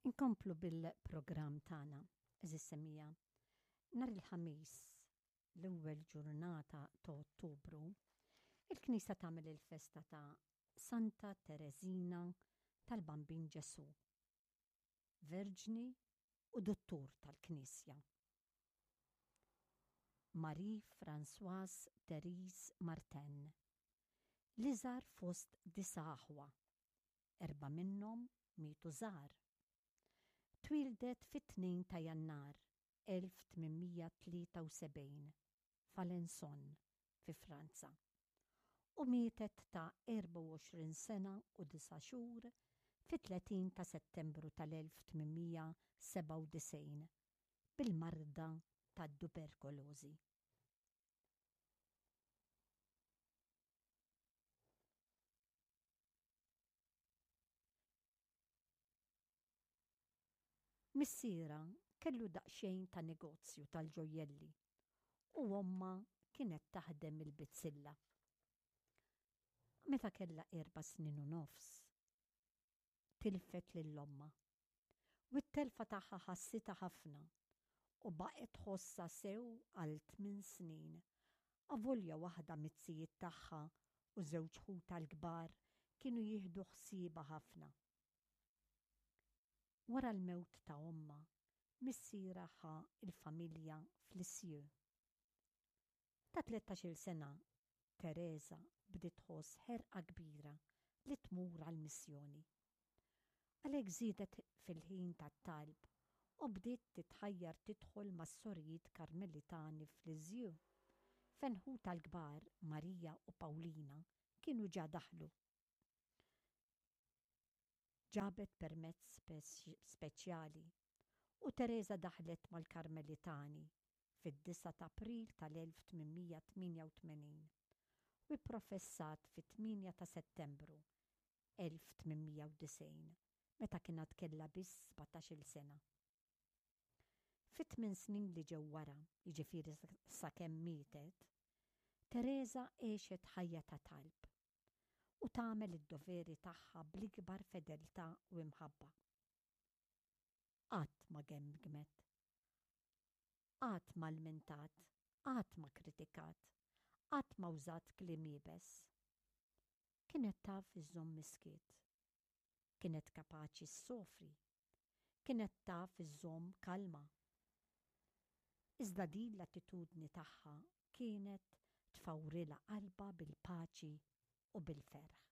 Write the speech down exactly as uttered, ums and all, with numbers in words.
Inkomplu bil-programm tagħna, għeżież semmiegħa. Nhar il-Ħamis, l-ewwel ġurnata ta' Ottubru, il-Knisja tagħmel il-festa ta' Santa Tereżina tal-Bambin Ġesù, Verġni u Duttur tal-Knisja. Marie-Françoise Therese Martin, l-iżgħar fost disa' aħwa, erba' minnhom mietu żgħar. Twieldet fit-tnejn ta' Jannar elf tmien mija tlieta u sebgħin f'Alençon fi Franza u mietet ta' erbgħa u għoxrin sena u disa' xhur fit-tletin ta' Settembru tal-elf tmien mija sebgħa u disgħin bil-marda tat-tuberkulożi. Missierha kellu daqsxejn ta' negozju tal-ġojjelli u ommha kienet taħdem il-bizzilla. Meta kellha erba' snin u nofs, tilfet lil ommha u t-telfa tagħha ħassitha ħafna u baqgħet tħossha sew għal tmien snin, avolja waħda miz-zijiet tagħha u żewġ ħutha l-kbar kienu jieħdu ħsiebha ħafna. Wara l-mewt ta' ommha, missierha ħa l-familja f'Lisieux. Ta' tlettax-il sena, Tereża bdiet tħoss ħerqa kbira li tmur għall-missjoni. Għalhekk żiedet fil-ħin tat-talb u bdiet titħajjar tidħol mas-sorijiet Karmelitani f'Lisieux, fejn ħutha l-kbar Marija u Pawlina kienu ġa daħlu. Ġabet permezz speċjali u Tereża daħlet mal-Karmelitani fid-disgħa ta' April tal-elf tmien mija tmienja u tmenin u pprofessat fit-tmienja ta' Settembru elf tmien mija u disgħin meta kien għad kellha biss sbatax-il sena. Fit-tmien snin li ġew wara, jiġifieri sakemm mietet, Tereża għexet ħajja ta' talb u tagħmel id-doveri tagħha bl-ikbar fedeltà u imħabba. Qatt ma gemgmet, qatt ma lmentat, qatt ma kritikat, qatt ma użat kliem iebes. Kienet taf iżżomm is-skiet. Kienet kapaċi ssofri. Kienet taf iżżomm kalma. Iżda din l-attitudni tagħha kienet tfawrilha qalbha bil-paċi u bil-ferħ.